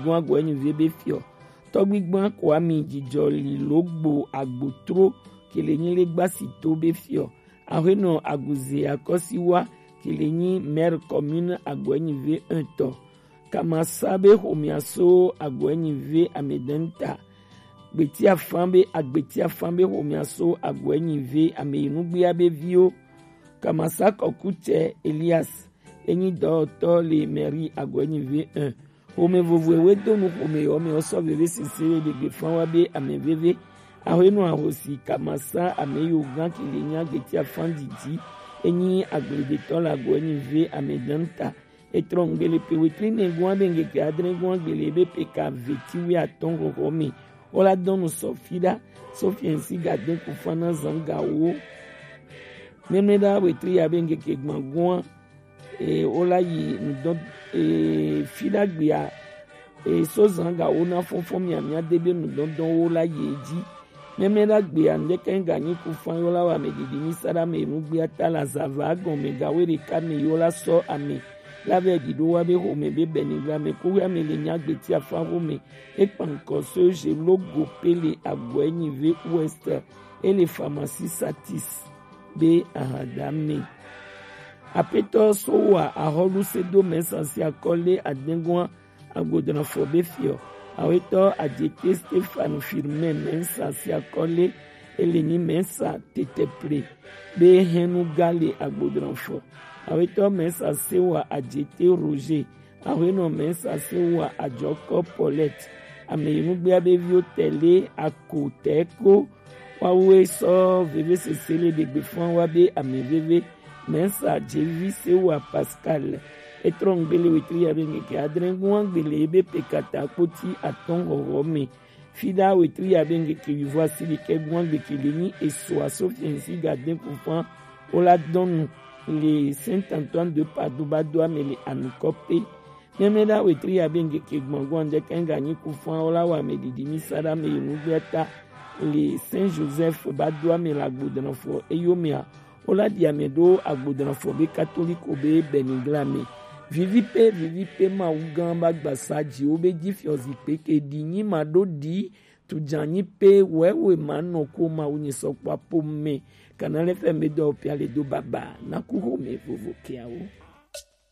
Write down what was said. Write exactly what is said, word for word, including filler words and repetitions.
Gɔn Agɔɛnyive be fiɔ. Tɔgbigban Kwami Jijɔli Logbo Agbotro Kelenyi Legbasi to be fiɔ. Ahwenɔ Aguze Akɔsiwa Kelenyi maire commune Agɔɛnyive un tɔ. Kamasa be xomea so Agɔɛnyive amedɛnta. Gbetiafan be Agbetiafan be xomea so Agɔɛnyive ameyinugbea be viwo. Kamasa Kɔkutsɛ Elias enyi dɔwɔtɔ le mairie Agɔɛnyive un. Xome vovo ewe do nu xome yɔ me ɔsɔ veve sese le degbe fan wa be ame veve. Ahwenɔ ahosi Kamasa ame yo gan Kelenyi Agbetiafan didi enyi agbledetɔ le Agɔɛnyive amedɛnta. Etrɔ ŋgbele pe wetri nɛ gɔn abe ŋgeke adre gɔn agbele ebe pe ka veti wi atɔn xɔxɔ me. Wola dɔnu sɔ fi ɖa sɔ fiɛnsi gade kufana zan gawo. Mɛmɛ ɖa wetri abe ŋgeke gban gɔn e wola yi nudɔn e fi ɖa gbea e so zan gawo na fɔnfɔn miamia de be nudɔndɔn wo la yi edzi. Mɛmɛ ɖa gbea ŋdeke ŋganyi kufan yo la wa me didi mi sa ɖa me nu gbea ta la zava gɔn me gawo ɖeka me yo la sɔ ame la vɛ ɖi ɖo wa be xome be bɛnigla me ko ya me le nya gbeti afa xome. Ekpankɔ so je logo pele Agɔɛnyive Ouest ele pharmacie Satis be ahada me. Apetɔ so wa ahɔlu se do mɛsa si akɔle adengua agbodranfo be fiɔ. Awetɔ Adjete Stéphane Firmin mɛsa si akɔle ele ni mɛsa teteple be hɛnu gale agbodranfo. Awetɔ mɛsa se wa Adjete Roger. Ahwenɔ mɛsa se wa Ajɔkɔ Paulette. Ame yi nugbea be viwo tɛle ako tɛko wawe sɔ veve sese le ɖegbe fún wa be ame veve. Mɛsa jevi se wa Pascal. Etrɔ ŋgbele wetri ya be ŋgeke adre ŋgua ŋgbele ebe pe kata kpoti atɔn hɔhɔ me. Fida wetri ya be ŋgeke wivo asi ɖekɛ ŋgua ŋgbeke le nyi eso aso fiɛnsi gade kufan wola dɔnu le Saint Antoine de Padoue ba do ame le anukɔ pe. Mɛmɛ ɖa wetri ya be ŋgeke gbɔngbɔn ɖe kɛŋga nyi kufan wola wa me ɖiɖi mi sa ɖa me yi nugbea ta le Saint Joseph ba do ame le agbodranfo eyo mea wola ɖi ame ɖo agbodranfo be katoliko be bɛnigla me. Vivi pe vivi pe mawu gã ba gbasa dzi wo be dzi fiɔ zikpe ke ɖi nyi ma ɖo ɖi tu dza nyi pe wɛwe ma nɔ ko mawu nyi sɔkpɔ apo me. Kana le fɛ me dɔ pia le do baba na ku ho me vovo kiawo.